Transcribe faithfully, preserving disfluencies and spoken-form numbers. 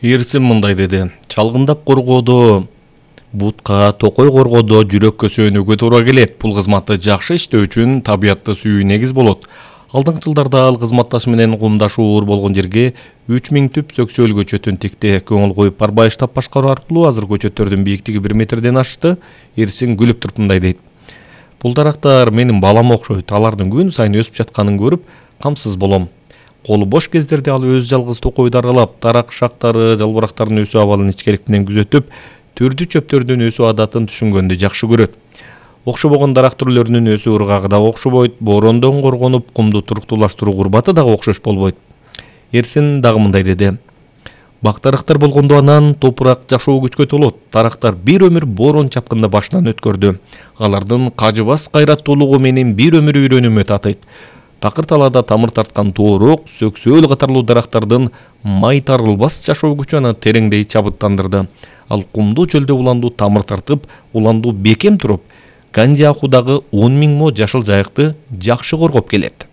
Эрсин мындай деди: чалгындап коргоодо, бутка, токой коргоодо жүрөккө сөөнүүгө туура келет. Бул кызматты жакшы иштөө үчүн табиятты сүйүү негиз болот. Алдыңкы жылдарда ал кызматташ менен кумдашы уур болгон жерге үч миң түп сөксөөл көчөтүн тикти. Көңүл коюп барбай штаб башкаруу аркылуу азыр көчөттөрдүн бийиктиги бир метрден ашты. Эрсин күлүп туруп мындай дейт: бул дарактар менин балама окшойт. Алардын күн сайын өсүп жатканын көрүп камсыз болом. Колу бош кездерде ал өз жалгыз токойду аралап, дарак шактары, жалбырактардын өсүү абалын ичкилик менен күзөтүп, түрдүү чөптөрдүн өсүү адатын түшүнгөндү жакшы көрөт. Окшобогон дарак түрлөрүнүн өсүү ыргагы дагы окшобойт, борондон коргонуп, кумду туруктуулаштыруу курбаты дагы окшош болбойт. Эрсин дагы мындай деди: бак дарактар болгондо анан топурак жашоо күчкө толот. Дарактар бир өмүр борон чапкында башынан өткөрдү. Алардын кажыбас кайраттуулугу менин бир өмүр үйрөнүүмө татыйт. Такыр талаада тамыр тарткан тоорок, сөксөөл катарлуу дарактардын май тарылбас жашоо күчү аны тереңдей чабыттандырды. Ал кумдуу чөлдө уландуу тамыр тартып, уландуу бекем туруп, Канди Ахуудагы он миң мо жашыл жайыкты жакшы коргоп келет.